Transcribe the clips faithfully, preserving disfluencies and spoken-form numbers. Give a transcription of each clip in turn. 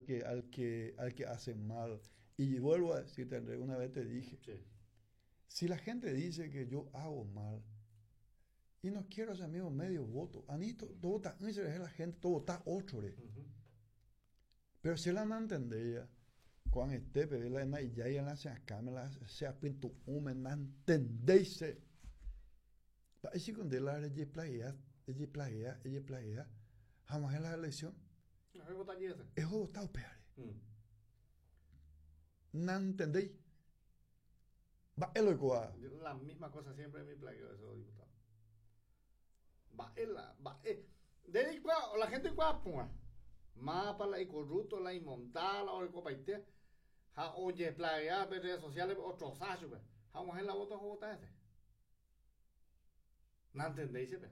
que, al que, al que hace mal. Y vuelvo a decirte, Andrés, una vez te dije, Sí. si la gente dice que yo hago mal y no quiero ese amigo medio voto, a mí todo está, la gente, todo está otro. Ujú. Pero si la no entendía, cuando esté, pero la na ya ya la se acá me la se apintu ume na entendéis. Pa ese con de la de playa, de playa, de playa, jamás en la elección, No, yo votar ese. es votado peor. Mm. No entendéis. Va el coa. Yo La misma cosa siempre en mi plagueo de esos diputados. Va, la, va, eh. De la gente cua pua. Mapa la y corrupto la y montada o el copaitea. Ja, oye, plaguea redes sociales otro sacho, pe. Ja, mujer la vota vota ese. No entendéis, pe.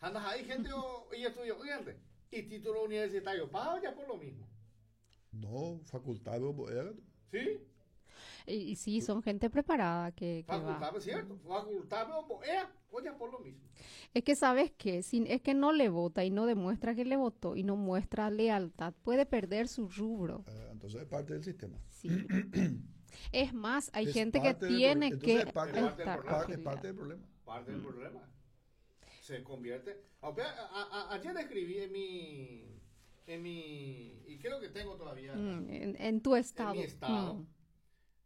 Anda, hay gente o, y estudio, gente. Y título universitario, paga ya por lo mismo. No, facultad de ¿Sí? Y, y sí, son gente preparada que, que va. Facultad, cierto. Facultad, ea, oye, por lo mismo. Es que sabes que si es que no le vota y no demuestra que le votó y no muestra lealtad, puede perder su rubro. Eh, entonces es parte del sistema. Sí. Es más, hay Es gente que parte del tiene pro- que entonces es parte, del estar problema. parte, es afiliada. parte del problema. Parte del problema. Se convierte. Aunque a- a- a- ayer escribí en mi. En mi. Y creo que tengo todavía. Mm, en, en tu estado. En mi estado. Mm.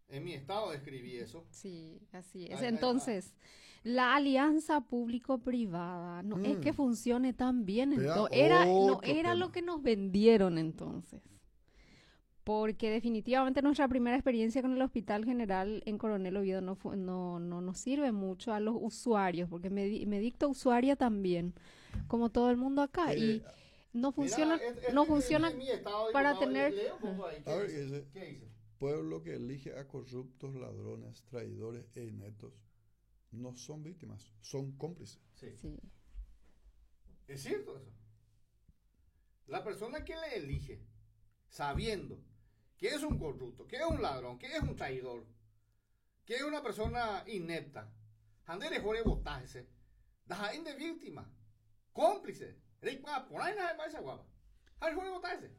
En mi estado escribí eso. Sí, así es. Ay, ay, Entonces, la alianza público-privada no es que Mm. funcione tan bien. Vea, Entonces, era, no otro era lo tema. que nos vendieron entonces. Porque definitivamente nuestra primera experiencia con el Hospital General en Coronel Oviedo no, fu- no, no nos sirve mucho a los usuarios, porque me, di- me dicto usuaria también, como todo el mundo acá. Eh, Y no funciona, Mira, es- es- no es- funciona en mi estado, para diputado, tener- Leo un poco ahí. ¿Qué A ver, dice? dice- ¿Qué dice? Pueblo que elige a corruptos, ladrones, traidores e ineptos no son víctimas, son cómplices. Sí. Sí. Es cierto eso. La persona que le elige, sabiendo que es un corrupto, que es un ladrón, que es un traidor, que es una persona inepta, Andere jore votarse, de víctima, cómplice, por ahí nada más guapa. Jore votarse.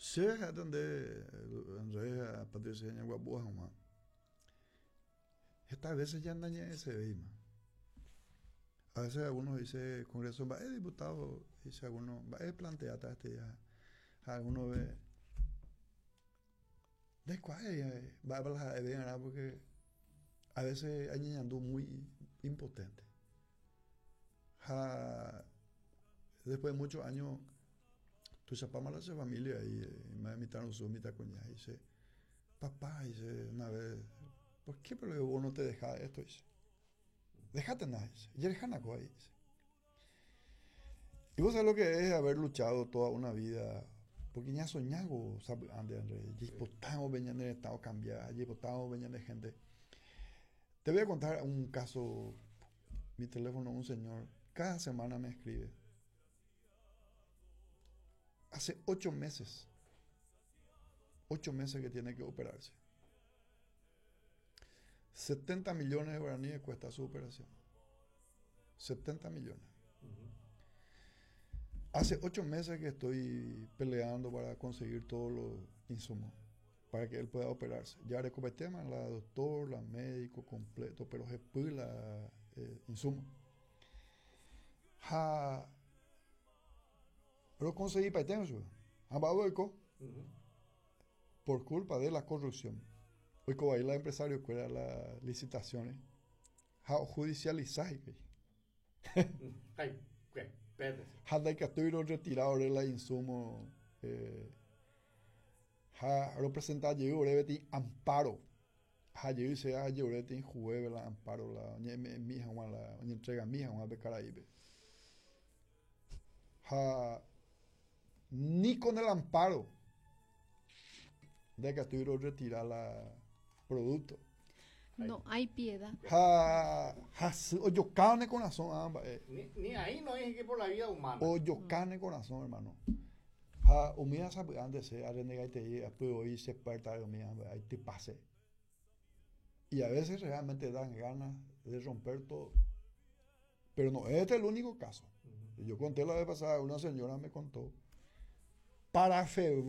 Sí, donde Andrés, Patricia, Guapúa, Juan. Estas veces ya andan ese veima. A veces algunos dice Congreso, va, eh, diputado, dice algunos, va, eh, plantea este ya. Algunos ve. ¿De cuál? eh, Va a hablar porque a veces hay ñandú muy impotente. Ja, después de muchos años, tu chapama la familia y eh, me invitaron su mitad coña y dice, papá, dice una vez, ¿por qué pero vos no te dejas esto? Dice, déjate nada, dice, y eres ahí, dice. Y vos sabés lo que es haber luchado toda una vida, porque ya soñago, sabe, ande, Andrés, y venían de estado cambiar, y venían de gente. Te voy a contar un caso, mi teléfono, un señor, cada semana me escribe. Hace ocho meses, ocho meses que tiene que operarse. setenta millones de guaraníes cuesta su operación. setenta millones. Hace ocho meses que estoy peleando para conseguir todos los insumos para que él pueda operarse. Ya recopetema la doctor, la médico completo, pero se la eh, insumo. Ja, pero conseguí para por culpa de la corrupción. Hoy como ahí la empresario que las licitaciones, ja judicializar. Ay, ¿qué? Ja de que estoy retirado de la insumo eh, ja representar yo breve amparo. Ja yo dice ja yo breve jueve la amparo la mi hija la entrega mi hija de Caraíbe. Ja ni con el amparo de que estoy retirar la producto. No hay piedad. Ja, ja, o carne corazón, ambas. Eh. Ni, ni ahí no hay que por la vida humana. O yo carne corazón, hermano. Ja, umia sabe antes se arrenegaite y se perta umia ahí te pase. Y a veces realmente dan ganas de romper todo. Pero no, este es el único caso. Yo conté la vez pasada, una señora me contó, para febrero